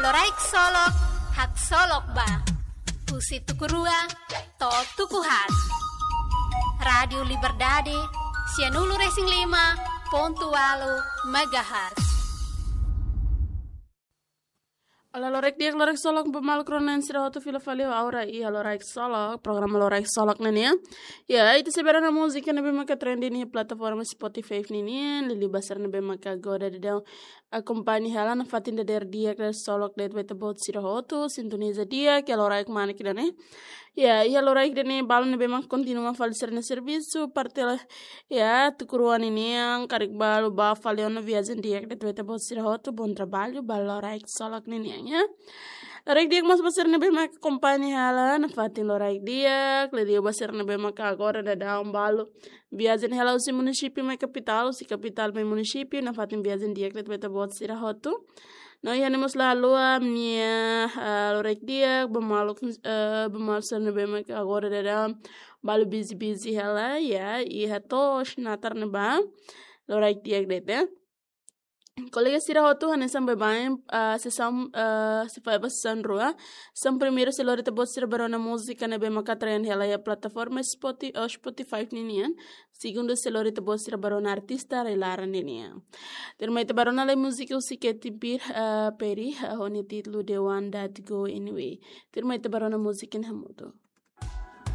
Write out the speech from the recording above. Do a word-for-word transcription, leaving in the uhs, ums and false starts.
Loraik Solok, haksolok ba. Husi tuku rua to'o tuku haat. Rádiu Liberdade, sianulu-resin-lima pontu ualu megahertz. Olá, loraik di'ak, loraik solok ba maluk rona-na'in sira hotu, fila fali ho Aura iha Loraik Solok, programa Loraik Solok ne'e nian. Ya, ita sei bá rona múzika ne'ebé maka trending iha plataforma Spotify ne'e nian, liuliu ba sira ne'ebé maka agora daudaun akompaña hela nafatin dadeer di'ak dadeer solok de'it ba ita-boot sira hotu, sintoniza di'ak iha loraik manik ida-ne'e. Ya, iha loraik ida-ne'e balu ne'ebé maka kontinua fali sira-nia servisu, parte la, ya, tuku rua ninian, karik balu bá fali ona, viajen di'ak de'it ba ita-boot sira hotu, bom trabalho ba Loraik Solok ne'e nian, ya. Loraik di'ak mós ba sira ne'ebé maka akompaña hela nafatin loraik di'ak, liuliu ba sira ne'ebé maka agora daudaun balu viajen hela husi munisípiu mai kapitál, husi kapitál mai munisípiu, nafatin viajen di'ak de'it ba ita-boot sira hotu. No iha ne'e mós la haluha ami-nia, ah, loraik di'ak ba maluk, eh, ba maluk sira ne'ebé maka agora daudaun balu busy-busy hela, ya, iha to'os natar ne'ebá. Loraik di'ak de'it, ya. Kolega sira hotu, hanesan baibain, ah, sesaun, ah, sei fahe ba sesaun rua. Sesaun primeiru sei lori ita-boot sira bá rona múzika ne'ebé maka trend hela iha plataforma Spoti-, oh, Spotify ne'e nian. Segundu sei lori ita-boot sira bá rona artista rai-laran ne'e nian. Tuirmai ita bá rona lai múzika husi Katy Perry, ah, Perry, ah, ho nia títulu The One That Go Anyway. Tuirmai ita bá rona múzika ne'e hamutuk.